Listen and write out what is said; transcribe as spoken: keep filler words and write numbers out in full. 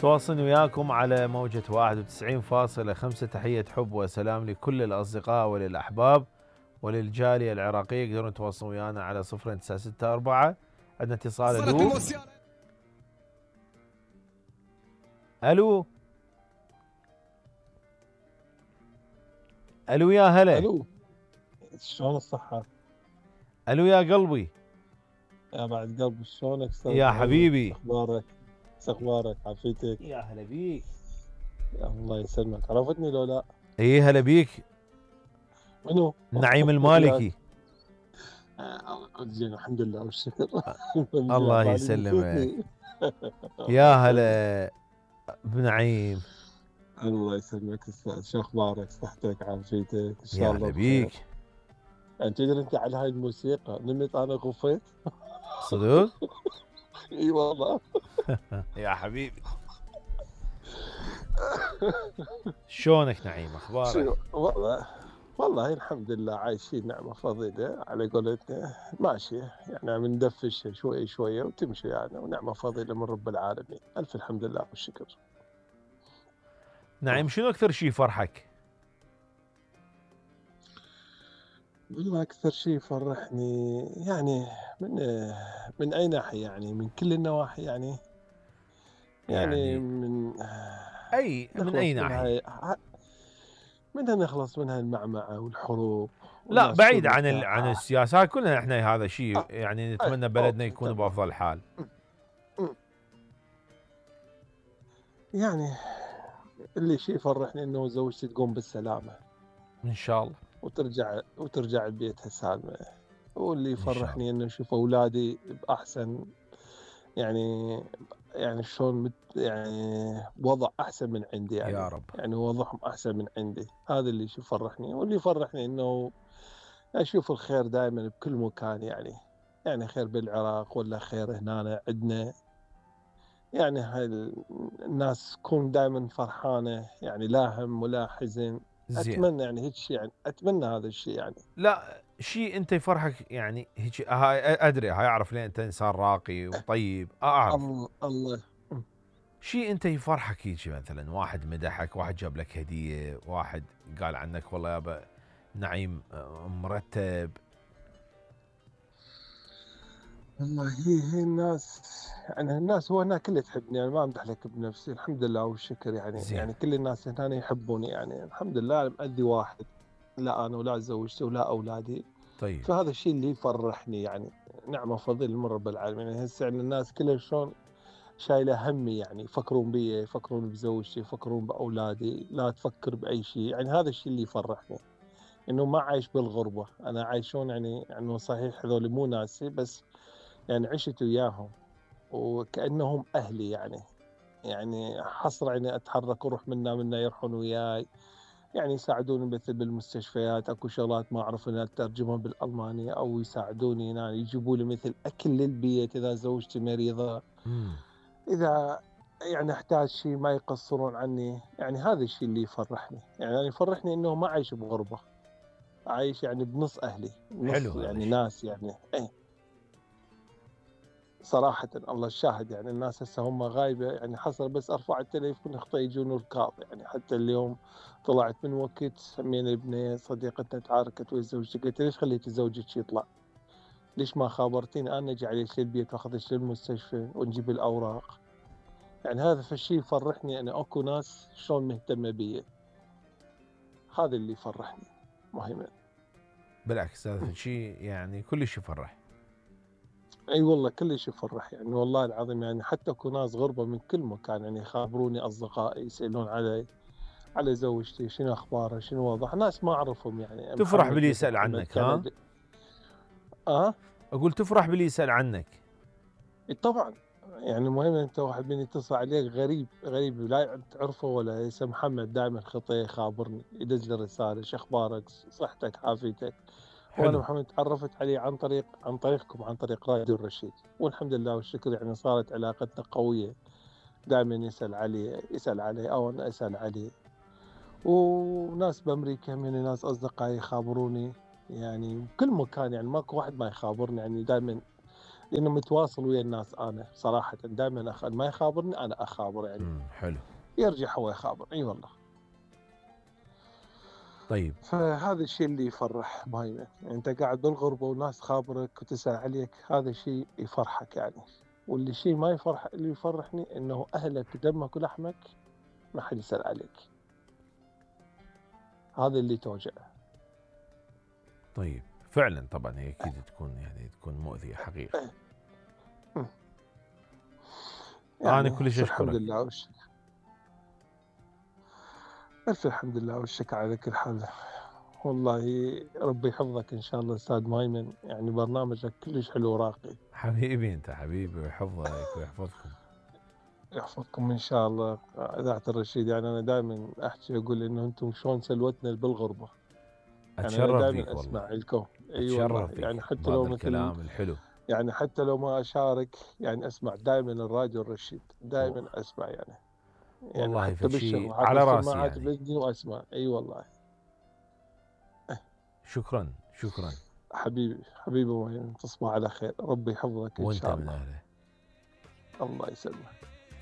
تواصل وياكم على موجة واحد وتسعين فاصلة خمسة. تحية حب وسلام لكل الأصدقاء وللأحباب وللجالية العراقية. يقدرون يتواصلون ويانا على صفر تسعة ستة أربعة. عندنا اتصال. ألو ألو ألو يا هلا. ألو شلون الصحة؟ ألو يا قلبي. يا بعد قلبي شلونك استاذ؟ يا حبيبي اخبارك؟ اخبارك عافيتك؟ يا هلا بيك. يا الله يسلمك. عرفتني لو لا؟ اي هلا بيك. منو؟ نعيم المالكي. آه زين الحمد لله والشكر. الله يسلمك. يا هلا بنعيم. الله يسلمك استاذ. شو اخبارك؟ صحتك عافيتك؟ ان شاء يا الله هلا بيك. يعني تدري انت على هاي الموسيقى نمت انا غفيت. صدق؟ اي والله. يا حبيبي. شلونك نعيم؟ اخبارك؟ والله والله الحمد لله عايشين نعمة فضيلة على قولتنا، ماشية يعني عم ندفش شوي شوية وتمشي يعني، ونعمة فضيلة من رب العالمين. ألف الحمد لله والشكر. نعيم شنو أكثر شيء فرحك؟ والله أكثر شيء فرحني يعني من من أي ناحية يعني؟ من كل النواحي يعني؟ يعني, يعني من أي من أي ناحية؟ منها نخلص منها المعمعة والحروب. لا بعيد عن ال... عن السياسات كلنا احنا هذا شيء يعني نتمنى بلدنا يكون بأفضل حال. يعني اللي شيء يفرحني انه زوجتي تقوم بالسلامة ان شاء الله وترجع وترجع لبيتها سالمة. واللي يفرحني انه اشوف اولادي باحسن يعني يعني شلون يعني وضع احسن من عندي يعني. يا رب. يعني وضعهم احسن من عندي. هذا اللي يفرحني. واللي يفرحني انه اشوف الخير دائما بكل مكان يعني. يعني خير بالعراق ولا خير هنا عندنا. يعني هاي الناس تكون دائما فرحانة يعني، لا هم ولا حزن. زين. اتمنى يعني هيك شيء يعني، اتمنى هذا الشيء يعني. لا شيء انت يفرحك يعني هيك. هاي ادري، هاي اعرف ليه انت انسان راقي وطيب اعرف. الله الله. شيء انت يفرحك هيك مثلا واحد مدحك، واحد جاب لك هدية، واحد قال عنك والله يابا نعيم مرتب. والله هي هي الناس يعني الناس هو هنا كله تحبني يعني، ما امدح لك بنفسي الحمد لله والشكر يعني. زين. يعني كل الناس هنا يحبوني يعني الحمد لله. انا مأذي واحد، لا انا ولا زوجتي ولا اولادي. طيب. فهذا الشيء اللي يفرحني يعني. نعمه فضل من رب العالمين. يعني هسه يعني الناس كلها شلون شايله همي يعني، يفكرون بي، يفكرون بزوجتي، يفكرون باولادي، لا تفكر باي شيء يعني. هذا الشيء اللي يفرحني انه ما عايش بالغربه. انا عايشون يعني انه صحيح هذول مو ناسي، بس يعني عشت وياهم وكأنهم أهلي يعني. يعني حصر يعني أتحرك وأروح منا منا يروحون وياي يعني. يساعدوني مثل بالمستشفيات، أكو شغلات ما أعرف أن أترجمها بالألمانية، أو يساعدوني يعني يجيبوا لي مثل أكل للبيت إذا زوجتي مريضة. مم. إذا يعني أحتاج شيء ما يقصرون عني يعني. هذا الشيء اللي يفرحني يعني. يعني يفرحني إنه ما عايش بغربة، عايش يعني بنص أهلي، نص يعني ناس يعني. إيه صراحة الله الشاهد يعني. الناس هسه هم غايبة يعني، حصل بس ارفع التليفون اخطا يجون ركاب يعني. حتى اليوم طلعت من وقت سمينا ابني صديقتنا تعاركت ويا زوجتي، قلت ليش خليتي زوجك يطلع؟ ليش ما خابرتيني انا اجي عليك للبيت واخذك للمستشفى ونجيب الاوراق؟ يعني هذا فالشيء يفرحني انا. اكو ناس شلون مهتمة بي. هذا اللي يفرحني مهما. بالعكس هذا شيء يعني كلش يفرح. اي أيوة والله كلش يفرح يعني. والله العظيم يعني حتى اكو ناس غربة من كل مكان يعني يخابروني، اصدقائي يسالون علي، على زوجتي، شنو اخبارها، شنو وضعها. ناس ما اعرفهم يعني. تفرح محمد باللي مثل يسأل محمد عنك ها؟ اه اقول تفرح باللي يسأل عنك. طبعا يعني. المهم انت واحد من يتصل عليك غريب غريب لا تعرفه ولا اسمه محمد، دائما خطيه يخابرني، يدز لي رساله شو اخبارك، صحتك، عافيتك. وانا محمد تعرفت عليه عن طريق عن طريقكم، عن طريق راديو الرشيد، والحمد لله والشكر يعني. صارت علاقتنا قويه، دائما يسال علي يسال علي او انا اسال عليه. وناس بامريكا من ناس اصدقائي يخابروني يعني بكل مكان يعني. ماكو واحد ما يخابرني يعني. دائما لانه متواصل ويا الناس انا صراحه دائما أخ... ما يخابرني انا اخابر يعني. امم حلو. يرجع هو يخابر اي والله. طيب فهذا الشيء اللي يفرح مايمن، يعني انت قاعد بالغربه وناس خابرك وتسال عليك، هذا شيء يفرحك يعني. واللي شيء ما يفرح، اللي يفرحني انه اهلك دمك ولحمك ما حد يسال عليك، هذا اللي توجع. طيب فعلا طبعا هي اكيد تكون يعني تكون مؤذيه حقيقه. يعني انا كلش الحمد اشكرك. لله والشكر. ألف الحمد لله والشكر على كل حال. والله ربي يحفظك إن شاء الله أستاذ مايمن، يعني برنامجك كلش حلو وراقي. حبيبي انت حبيبي ويحفظك ويحفظكم. يحفظكم إن شاء الله إذاعة الرشيد. يعني أنا دائما أحكي أقول إنه أنتم شلون سلوتنا بالغربة. يعني أنا اتشرف دائما فيك والله. أسمع لكم. أي أيوة والله، اتشرف يعني فيك حتى بهذا لو مثل، الكلام الحلو. يعني حتى لو ما أشارك يعني أسمع دائما الراديو الرشيد، أوه. دائما أسمع يعني. يعني والله حتى فشي بالشغل حاط على راسي السماعات يعني. بإذني وأسمع. أي أيوة والله. شكرا شكرا. حبيبي حبيبي مايمن، تصبح على خير، ربي يحفظك إن وانت شاء من الله. اهله. الله يسلمك.